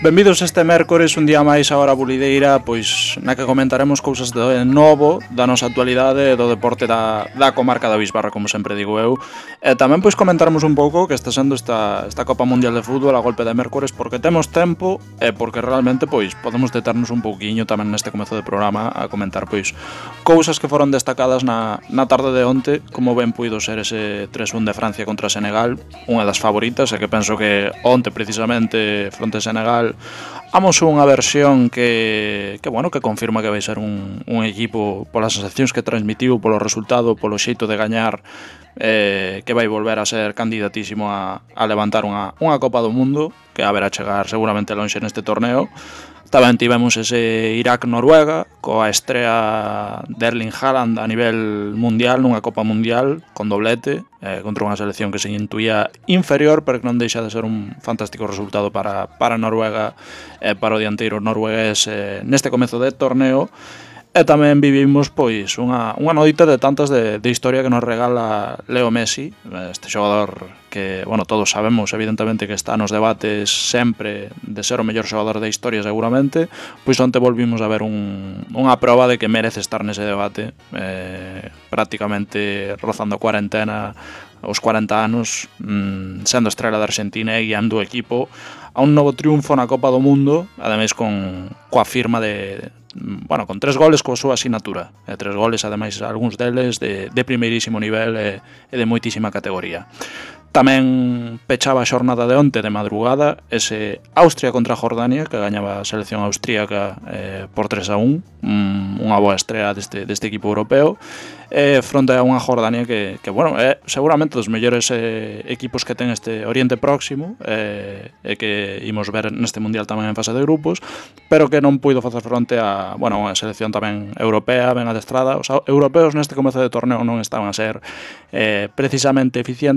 Benvidos este mércores, un día máis a Hora Bulideira, pois na que comentaremos cousas de novo da nosa actualidade do deporte da comarca da Bisbarra, como sempre digo eu. E tamén pois comentaremos un pouco que está sendo esta Copa Mundial de Fútbol a golpe de mércores, porque temos tempo e porque realmente pois podemos deternos un pouquiño tamén neste comezo de programa a comentar pois cousas que foron destacadas na tarde de onte, como ben puido ser ese 3-1 de Francia contra Senegal, unha das favoritas, e que penso que onte precisamente fronte a Senegal amosou unha versión que confirma que vai ser un equipo polas sensacións que transmitiu, polo resultado, polo xeito de gañar, que vai volver a ser candidatísimo a levantar unha Copa do Mundo, que a verá chegar seguramente lonxe neste torneo. Tamén tivemos ese Irak-Noruega, coa estrea de Erling Haaland a nivel mundial, nunha Copa Mundial, con doblete, contra unha selección que se intuía inferior, pero que non deixa de ser un fantástico resultado para Noruega, para o dianteiro noruegués neste comezo de torneo. E tamén vivimos pois unha noite de tantas de historia que nos regala Leo Messi, este xogador que, todos sabemos evidentemente que está nos debates sempre de ser o mellor xogador da historia seguramente, pois onte volvimos a ver unha proba de que merece estar nese debate, prácticamente rozando a cuarentena, os 40 anos, sendo estrela da Argentina e guiando o equipo a un novo triunfo na Copa do Mundo, ademais coa firma con 3 goles coa súa asinatura, 3 goles ademais algúns deles de primeirísimo nivel e de moitísima categoría. Tamén pechaba a xornada de onte de madrugada ese Austria contra Jordania, que gañaba a selección austríaca por 3-1, unha boa estrea deste equipo europeo, fronte a unha Jordania que é seguramente dos mellores equipos que ten este Oriente Próximo, e que imos ver neste Mundial tamén en fase de grupos, pero que non puido facer fronte a unha selección tamén europea, ben adestrada. Os europeos neste comezo de torneo non estaban a ser precisamente eficientes,